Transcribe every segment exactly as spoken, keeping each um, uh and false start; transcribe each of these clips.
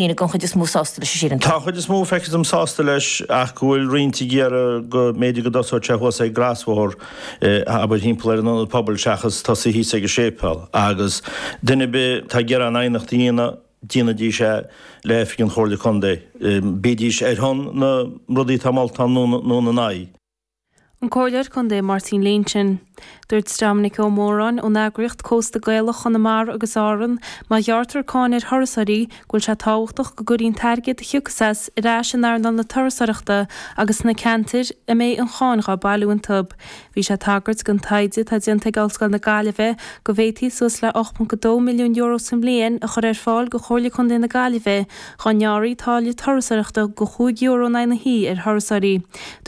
Daoine den chuid is mó sásta leis, sílim. Tá an chuid is mó, feictear dom, sásta leis ach go bhfuil roinnt ag iarraidh go mb'fhéidir go dtosódh sé thuas ag an gcrosbhóthar, abair, thimpeall ar an ionad pobail seachas tosaí thíos ag an séipéal. Agus duine ar bith atá ag iarraidh an aighneacht a dhéanamh, déanaidís é le oifig an Chomhairle Contae, bídís ar shon na rudaí atá molta ann nó ina n-aghaidh. An Comhairleoir Contae Máirtín Lynch. Dúirt Dominic Ó Móráin ón eagraíocht Cósta Gaelach Chonamara agus Árann má ghearrtar cáin ar thurasóirí go bhfuil sé tábhachtach go gcuirfí an t-airgead a thiocfas as ar ais in earnáil na turasóireachta agus sna ceantair a mbeidh an cháin dhá bailiú iontu. Bhí sé ag tagairt don taighde atá déanta ag Ollscoil na Gaillimhe go bhféadfaí suas le ocht ponc a dó milliún euro sa mbliain a chur ar fáil do Chomhairle Contae na Gaillimhe dhá ngearrfaí táille turasóireachta de chúig euro in aghaidh na hoíche ar thurasóirí.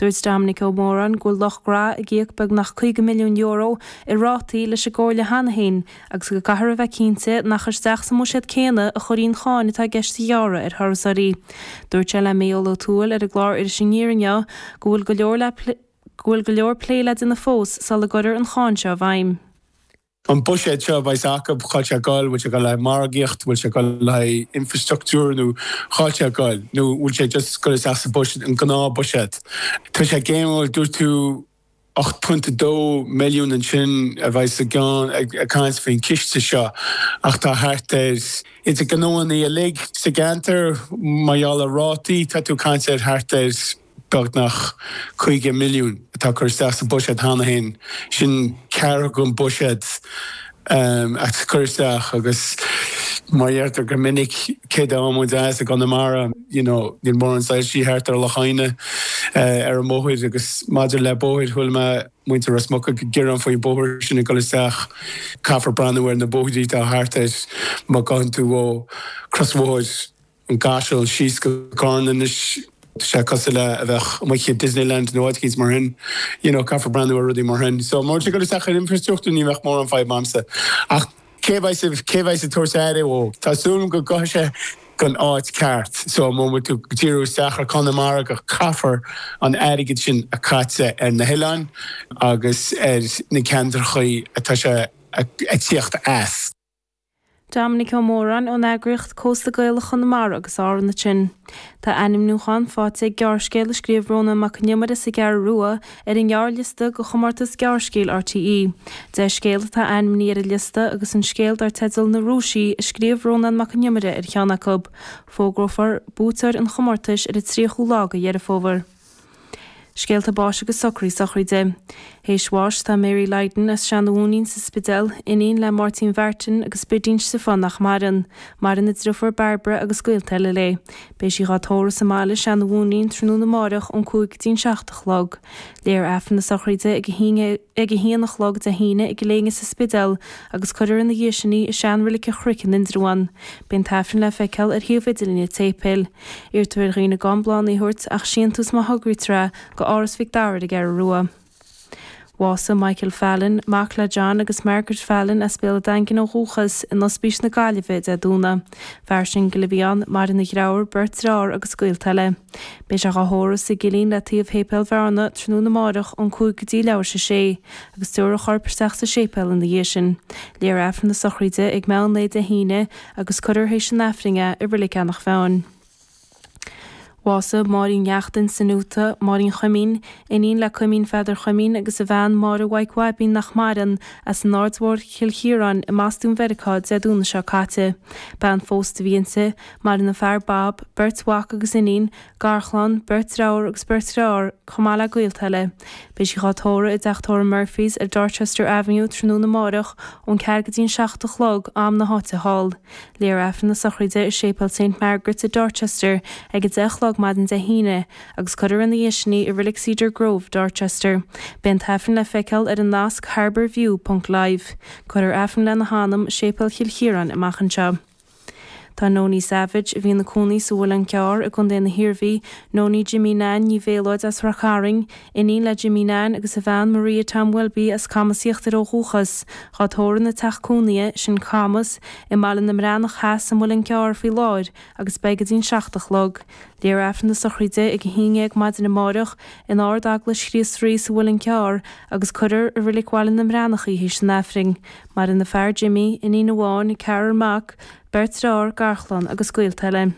Dúirt Dominic Ó Móráin go bhfuil Loch Garra ag íoc beagnach caoga milliún euro i rátaí leis an gComhairle cheana féin agus go gcaithfear a bheith cinnte nach isteach sa mbuiséad céanna a chuirfí an cháin atá i gceist a ghearradh ar thurasóirí. Dúirt sé le Mícheál Ó Tuathail ar an gclár Iris Aniar inniu go bhfuil go leor le go bhfuil go leor plé le déanamh fós sula gcuirfear an cháin seo i bhfeidhm. An buiséad seo a bheas acu, cá bhfuil sé ag goil, bhfuil sé ag goil le haghaidh margaíocht, bhfuil sé ag goil le haghaidh infrastruchtúr nó cá bhfuil sé ag goil, nó bhfuil sé just ag goil isteach sa buiséad, an gnáthbhuiséad. Tá sé géimiúil, dúirt tú ocht punt a dó milliún ansin a bheas i gceann ag caint faoin chiste seo ach tá thart ar, idir gnóanna uilig sa gceantar, mar gheall ar rátaí, tá tú ag caint ar thart ar. beagnach caoga milliún atá curtha isteach sa bhuiséad cheana féin, sin ceathrú den bhuiséad atá curtha isteach agus mar a deirtear go minic, cé dá muid as i gConamara, you know, níl mórán soilsí thart ar Loch Adhna ar an mbóthar agus maidir le bóthair, chuala mé muintir Ros Muc ag gearán faoin bóthar sin ag dul isteach, caithfear breathnú ar na bóithrí atá thart air má ghabhann tú ó chrosbhóthar an gCaiseal síos go Carna anois. Tá sé cosúil le a bheith amuigh i Disneyland nó áit eicínt mar sin. You know, caithfear breathnú ar rudaí mar sin. So, má tá sé ag dul isteach ar infrastruchtúr ní bheadh mórán fadhb a'msa. Ach cé bheidh, cé bheidh ag tabhairt aire dhó? Tá súil agam go gabhfaidh sé gon áit ceart. So, má bhfuil tú ag díriú isteach ar Chonamara go caithfear an airgead sin a caite ar na hoileáin agus ar na ceantrachaí atá sé ag tíocht as. Dominic Ó Móráin ón eagraíocht Cósta Gaelach Chonamara agus Árann ansin. Tá ainmniúchán faighte ag gearrscéal a scríobh Rónán Mac Con Iomaire as an gCeathrú Rua ar an ngearrliosta do chomórtas gearrscéil RTÉ. Deich scéal atá ainmnithe ar an liosta agus an scéal dar teideal Na Rúisigh a scríobh Rónán Mac Con Iomaire ar cheann acu. Fógrófar buaiteoir an chomórtais ar an tríochú lá de Dheireadh Fómhair. Scéalta báis agus socraí sochraide. Théis bháis tá Mary Lydon as Seanadh Mhúinín sa Spidéal, iníon le Máirtín Mhartin agus Bidín Stiofáin nach maireann. Maireann a driofúr Bairbre agus gaolta eile léi. Beidh sí dhá tórramh sa mbaile, Seanadh Mhúinín, tráthnóna amáireach ón cúig go dtí'n seacht a chlog. Léifear Aifreann na sochraide ag a haon ag a haon a chlog Dé hAoine i gCill Éinne sa Spidéal agus cuirfear ina dhiaidh sin í i sean-reilig an Chnoic in Indreabhán. Beidh an tAifreann le feiceáil ar shuíomh idirlín an tséipéil. Iarrtar ar dhaoine gan bláthanna a thabhairt ach síntiús má thograítear é go Áras Mhic Dara ar an gCeathrú Rua. Bhásaigh Michael Fallon, mac le John agus Margaret Fallon as Béal an Daingin ó dhúchas, in Ospís na Gaillimhe Dé Domhnaigh. Fear singil a bhí ann, maireann a dheartháir, beirt dearthár agus gaolta eile. Beidh sé dhá thórramh sa gcillín le taobh Shéipéal Bhearna tráthnóna amáireach ón cúig go dtí leathuair tar éis a sé, agus tabharfar a chorp isteach sa séipéal ina dhiaidh sin. Léifear Aifreann na sochraide ag meán lae Dé hAoine agus cuirfear théis an Aifrinn é i Reilig Eanach Mheáin. Bhásaigh Máirín Neachtain san Úta, Máirín Chuimín, iníon le Cuimín Pheadair Chuimín agus a bhean Máire Mhaidhc Bhaibín nach maireann, as an Aird Mhór Chill Chiaráin i mBostún Mheiriceá Dé Domhnaigh seo caite. Bean phósta a bhí inti. Maireann a fear Bob, beirt mhac agus iníon, garchlann, beirt deartháir agus beirt dheartháir, chomh maith le gaolta eile. Beidh sí dhá tórramh i dteach tórraimh Murphy's ar Dorchester Avenue tráthnóna amáireach ón ceathair go dtí'n seacht a chlog, am na háite thall. Léifear Aifreann na sochraide i Séipéal Saint Margaret's i Dorchester ag a deich a chlog maidin Dé hAoine agus cuirfear ina dhiaidh sin í i Reilig Cedar Grove, Dorchester. Beidh an tAifreann le feiceáil ar an nasc harbourview ponc live. Cuirfear Aifreann lena hanam i Séipéal Chill Chiaráin amach anseo. Tá Nonie Savage, a bhí ina cónaí sa Mhuileann Cearr i gContae na hIarmhí, Nonie Jimmy Nan Ní Mhéalóid as Ráth Cairn, Iníon le Jimmy Nan agus a bhean Maria Tom Welby as Camas Íochtair ó dhúchas, dhá tórramh ina teach cónaithe, sin Camas, i mBaile na mBreathnach Theas sa Muileann gCearr faoi láthair agus beidh go dtí'n seacht a chlog. Léifear Aifreann na sochraide ag a haon dhéag maidin amáireach in Ard-Eaglais Chríost Rí sa Mhuileann Cearr agus cuirfear i Reilig Bhaile na mBreathnach í théis an Aifrinn. Maireann a fear Jimmy, iníon amháin, ceathrar mac, beirt dearthár, garchlann agus gaolta eile.